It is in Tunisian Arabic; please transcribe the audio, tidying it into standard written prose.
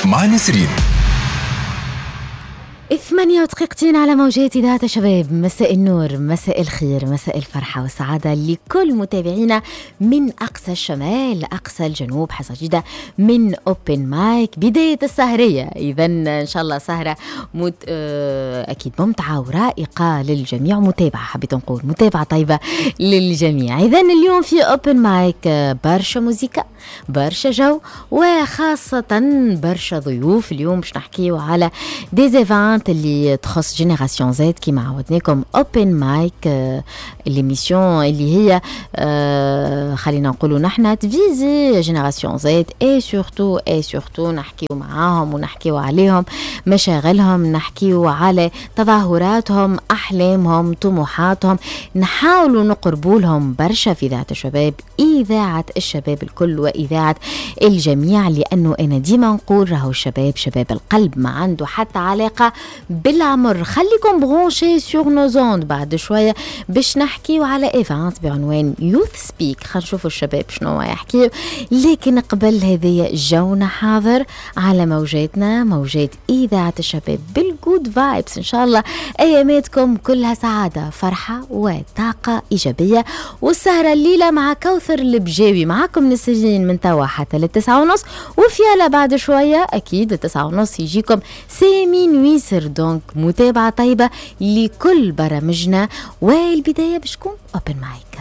مع نسرين. 8 ودقيقتين على موجات إذاعة شباب. مساء النور، مساء الخير، مساء الفرحة والسعادة لكل متابعينا من أقصى الشمال لأقصى الجنوب. حصة جديدة من Open Mic، بداية السهرية. إذا إن شاء الله سهرة أكيد ممتعة ورائقة للجميع، متابعة، حبيت نقول متابعة طيبة للجميع. إذا اليوم في Open Mic برشا موزيكا، برشا جو، وخاصة برشا ضيوف. اليوم باش نحكيو على des events اللي تخص Génération Z كيما عودناكم. Open Mic، l'émission اللي هي خلينا نقولوا نحن تفيزي Génération Z et surtout نحكيو معاهم ونحكيو عليهم، مشاغلهم، نحكيو على تظاهراتهم، احلامهم، طموحاتهم، نحاولوا نقربوا لهم برشا في اذاعة الشباب، اذاعة الشباب الكل واذاعة الجميع، لانه انا ديما نقول راهو الشباب شباب القلب، ما عنده حتى علاقة بالعمر. خليكم branchés sur nos ondes، بعد شوية باش نحكيو على event بعنوان Youth Speak، خلينا نشوفوا الشباب شنو يحكيو. لكن قبل هذه، جونا حاضر على موجاتنا، موجات اذاعة الشباب بال good vibes. ان شاء الله اياماتكم كلها سعاده، فرحه وطاقة ايجابيه. والسهره الليلة مع كوثر البجاوي، معكم نسرين من توا حتى لل9:30، وفيالا بعد شوية اكيد 9:30 يجيكم سامي نويسر. donc متابعه طيبة لكل برامجنا، والبداية باش تكون Open Mic.